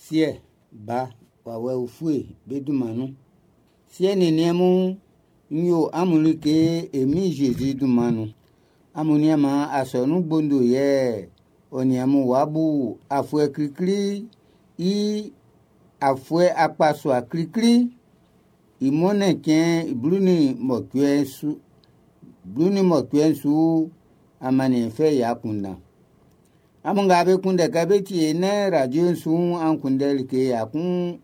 Siɛ, Ba, Wawɛ Ufue be dunman nun. Siɛ nin niɛn mun, n yo amun like e Min Zezi dunman nun. Amun nianman asɔnun gbondo yɛ ɔ nin amun w'a bu afuɛ klikli i afuɛ akpasua klikli i mɔnnɛn cɛn 18 su 18 su amanniɛn fɛ i akunndan. Amun nga be kunndɛ kɛ bé tíe nɛ radio'n su'n, an kunndɛ like 14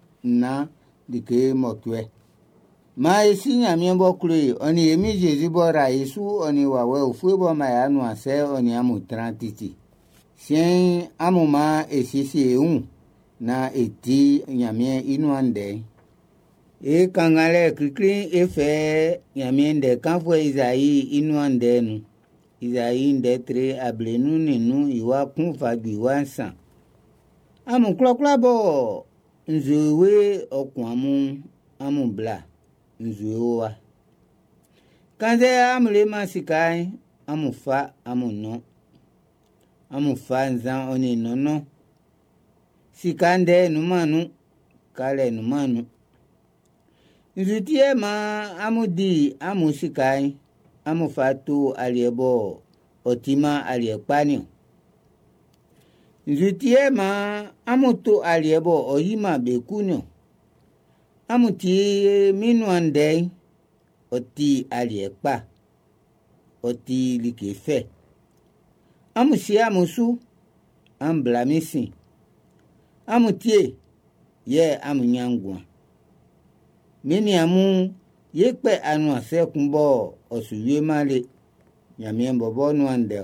like 8. Maan e si Ɲanmiɛn b'ɔ klo e, ɔ nin e Min Zezi b'ɔ ra e su, ɔ nin wawɛ ufue b'ɔ man e anuansɛ, ɔ nin amun tran titi. Siɛn'n, amun maan e siesie e wun naan e ti Ɲanmiɛn i nuan ndɛ'n. E kannganlɛ klikli'n e fɛ Ɲanmiɛn ndɛ kanfuɛ Izai i nuan ndɛ'n nun. Izai ndɛ tre 55 i wa 1 fa ju i wa 3. Amun kwlakwla bɔ nzue we ɔ kun amun, amun bla nzue wa. Kannzɛ amun leman sika'n, amun fa amun nɔn. Amun fa nzan ɔ nin nɔnnɔn. Sika ndɛ nunman nun, kalɛ nunman nun. Nzu ti yɛ maan amun di amun sika'n, amun fa to aliɛ bɔ ɔ timan aliɛ kpa niɔn. Nzu ti yɛ maan amun to aliɛ bɔ ɔ yiman be ku niɔn. Amun tie min nuan ndɛ'n, ɔ ti aliɛ kpa, ɔ ti like fɛ. Amun sie amun su, an bla min sin. Amun tie, yɛ amun ɲan nguan. Min nin amun ye kpɛ anuansɛ kun bɔ ɔ su wieman le. Ɲanmiɛn bɔbɔ nuan ndɛ.